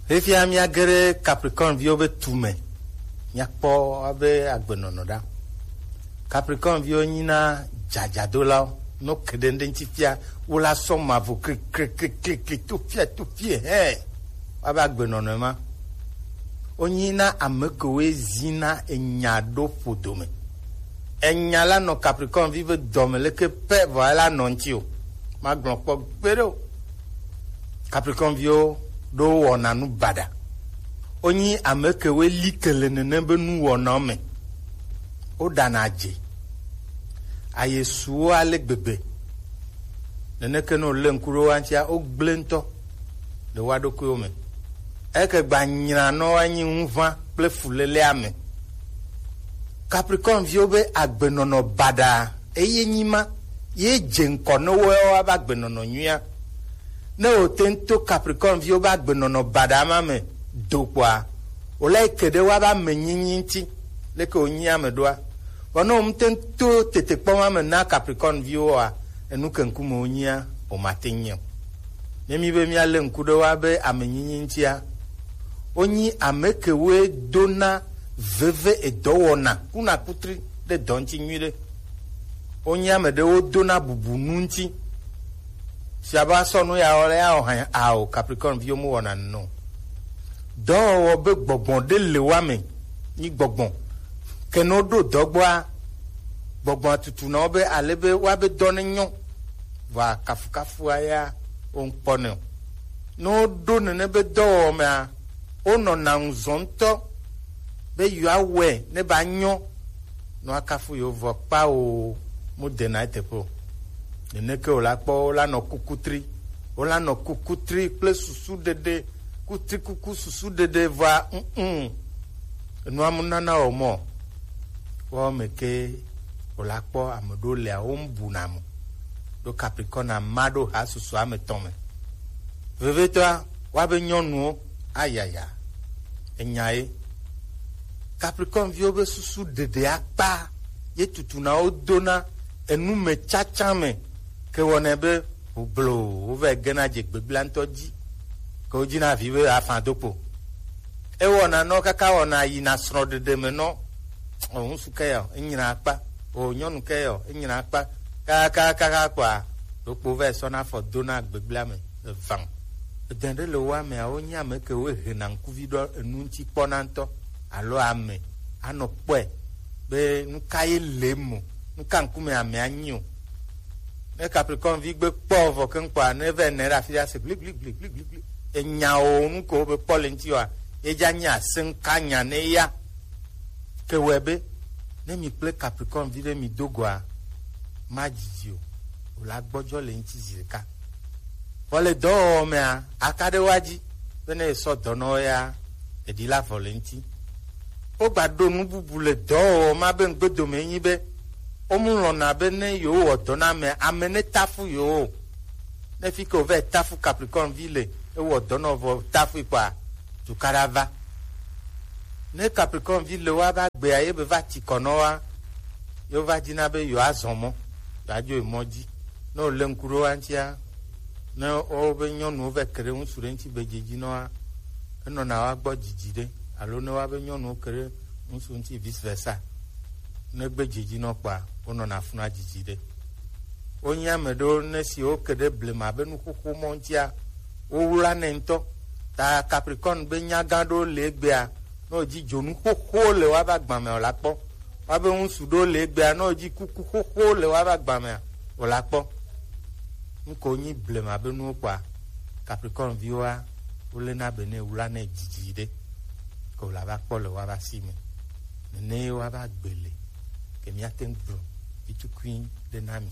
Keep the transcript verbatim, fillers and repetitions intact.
Fifia míage ɖe Capricorne viwo be tu me, míakpɔ wobe agbenɔnɔ ɖa. Capricorne viwo nyina dzadzadolawo, no ke ɖe ŋɖe ŋuti fia, wo la sɔ mavɔ kliklikliklikli to fia to fie hɛ. Woabe agbenɔnɔ ma. Wonyina ame kewoe zina enya ɖo ƒodo me. Enya la nɔ Capricorne vi be dɔme leke pɛ vɔ ela nɔ ŋuti o. Magblɔ kpɔ gbeɖe o. Capricorne viwo ɖo wɔna nu baɖa. Wonyi ame kewoe li ke le nene be nuwɔnawo me. Woɖana dze. Ayesuwo ale gbegbe. Neneke ne wòlé ŋku ɖe wo ŋutia, wogblẽ ŋutɔ le woa ɖokuiwo me. Eke gba nyranɔ woanyi ŋuʋã kple fulelea me. Capricorne viwo be agbenɔnɔ baɖa eye nyi ma ye dze ŋkɔ ne woawo ava agbenɔnɔ nyuia. Ne wòte ŋu to Capricorne viwo be agbenɔnɔ baɖa ma me do kpɔa, wòle ke ɖe woabe amenyinyi ŋuti, leke wònyi ame ɖoa. Vɔ ne wòmte ŋu to tetekpɔ ma me na Capricorne viwo oa, enu ke ŋkume wonyia, wòmate ŋu nyi o. Ne mi be míalé ŋku ɖe woabe amenyinyi ŋutia, wonyi ame kewoe dona veve edɔwɔna kuna kutri ɖe dɔ ŋuti nyuiɖe. Wonyi ame ɖewo dona bubu nu ŋuti. Fia be asɔ nu ya wɔ le ya wɔ hã ao Capricorne viwo mu wɔna nɔ. Dɔwɔwɔ be gbɔgbɔ ɖe le wa me nyi gbɔgbɔ. Ke ne woɖo dɔ gbɔa, gbɔgbɔ tutu na wo be ale be woabe dɔ ne nyɔ. Vɔa kafukafua ya wo ŋkpɔ ne o. Ne woɖo nene be dɔwɔwɔ mea, wonɔna ŋuzɔ ŋutɔ be yewoawɔe ne ba nyɔ. Nɔ akafu yewo vɔ kpa o, mu dena eteƒe o. Neneke wòla kpɔ, wola nɔ kukutri, wola nɔ kukutri kple susu ɖeɖe, kutri kuku susu ɖeɖe vɔa, mm, mm. Enua mu nana wɔ mɔ. Wɔ me ke wòla kpɔ ame ɖewo lea, wo ŋu buna mo. Ɖo Capricorne ama ɖo ha susu ame tɔn me. Vevietɔa, woabe nyɔnuwo, ayaya, enya ye. Capricorne viwo be susu ɖeɖe akpa ye tutuna wo dona enu me tsatsa me ke wɔnɛ be gblo wova gena dze gbegblẽ ŋutɔ dzi ke wodzi na vi be afã do kpo. Ewɔna nɔ kaka wɔna yina srɔ̃ɖeɖe me nɔ. O ŋutsu ke yɔ, enyina akpa. O nyɔnu ke yɔ, enyina akpa. Kakakaka kpɔa, ɖokpo va sɔna afɔ dona gbegblẽa me evã. Edɛn ɖe le wo amea, wonye ame ke wo hena ŋkuvi ɖɔ enu ŋuti kpɔna ŋutɔ alo ame anɔ kpɔe be nu ka ye le eme o, nu ka ŋkume amea nyi o. Ne Capricorne vi gbe kpɔ vɔ keŋ kpɔa, ne va nɛ ɖe afi ɖe ase gli gli gli gli gli gli. Enya o nu ke wobe kpɔ le ŋuti oa, ye dza nyi aseŋka nya ne ya. Ke wɔe be ne mi kple Capricorne vi ɖe mi do goa, ma dzidzi o, wòla gbɔdzɔ le ŋuti zi ɖeka. Vɔ le dɔwɔwɔ mea, aka ɖe woa dzi be ne esɔ dɔ nɔ wo ya, eɖi la vɔ le ŋuti. Wogba ɖo nu bubu le dɔwɔwɔ ma be ŋgbedome nyi be, womu lɔ̃na be ne yewowɔ dɔ na ame, ame ne tafu yewo. Ne fi ke wòva tafu Capricorne vi le, ewɔ dɔ nɔ vɔ tafu kpɔa, tukaɖa va. Ne Capricorne vi le wa va gbea ye be va ti kɔ nɔ wa, yewo va dina be yewoa zɔn mɔ, yewoa dzo yi mɔ dzi. Ne wòle ŋku ɖe wa ŋutia, ne wobe nyɔnuwo va ke ɖe ŋutsu ɖe ŋuti be dzedzi nɔ wa, enɔna wa gbɔ dzidzi ɖe, alo ne wa be nyɔnuwo ke ɖe ŋutsu ŋuti vice versa. Ne gbe dzedzi nɔ kpɔa, wonɔna funa dzidzi ɖe. Wonye ame ɖewo ne si woke ɖe blema be nuxoxo mɔ ŋutia, wowlanɛ ŋutɔ. Ta Capricorne be nyagã ɖewo le egbea, ne wòdzi dzonu xoxo le woabe agba me o la kpɔ. Woabe ŋutsu ɖewo le egbea, ne wòdzi kuku xoxo le woabe agba mea, o la kpɔ. Nuke wonyi blema be nuwo kpɔa, Capricorne viwoa, wolena be ne wlanɛ dzidzi ɖe, ke wòla va kpɔ le woabe asi me. Nene ye woava gbe le, ke míate ŋu gblɔ vitukui ɖe na mi.